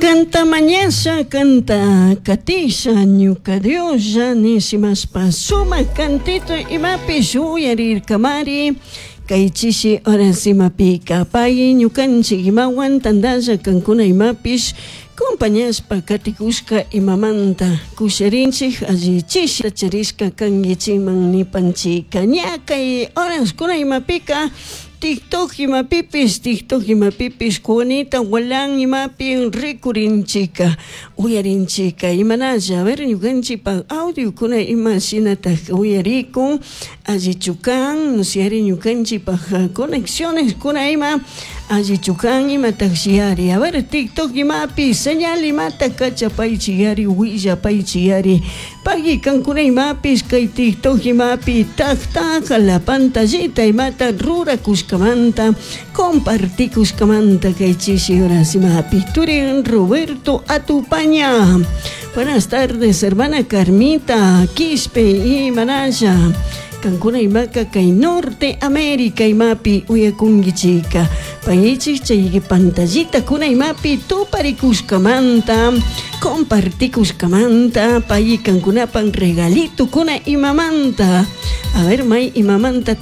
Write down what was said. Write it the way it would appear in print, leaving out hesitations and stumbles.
Canta mañasha, canta katisha, ñuka Dioslla nishimashpa sumak cantito imapish uyarirkamari. Kay chishi horas imapika pay ñukanchik imawan tantalla kankuna imapish compañashpa katikushka imamanta kusharinchik alli chishi charishka kankichikman nipanchika ña kay horaskuna imapika TikTok imapipish, TikTok imapipish Juanita Gualán imapi rikurinchika uyarinchika imanalla, a ver, ñukanchikpak audiokuna ima shinatak uyarikun, allichu kan, no ñukanchikpak conexiones kuna ima allichu kan, imatakshiyari. A ver, TikTok imapi señal imata kachapaychiyari, willapaychiyari. Pagui kankuna imapish kay TikTok imapi tak la pantallita imata rurakushkamanta, compartikushkamanta kay chishi horas imapi. Turin Roberto Atupaña. Buenas tardes, hermana Carmita Quispe y Manaya. Kankuna imaka kay Norte América imapi uyakunkichika. Payichik chay pantallita kuna imapi tuparikushkamanta, compartikushkamanta, payi kankunapan regalito kuna imamanta. A ver, may imamanta.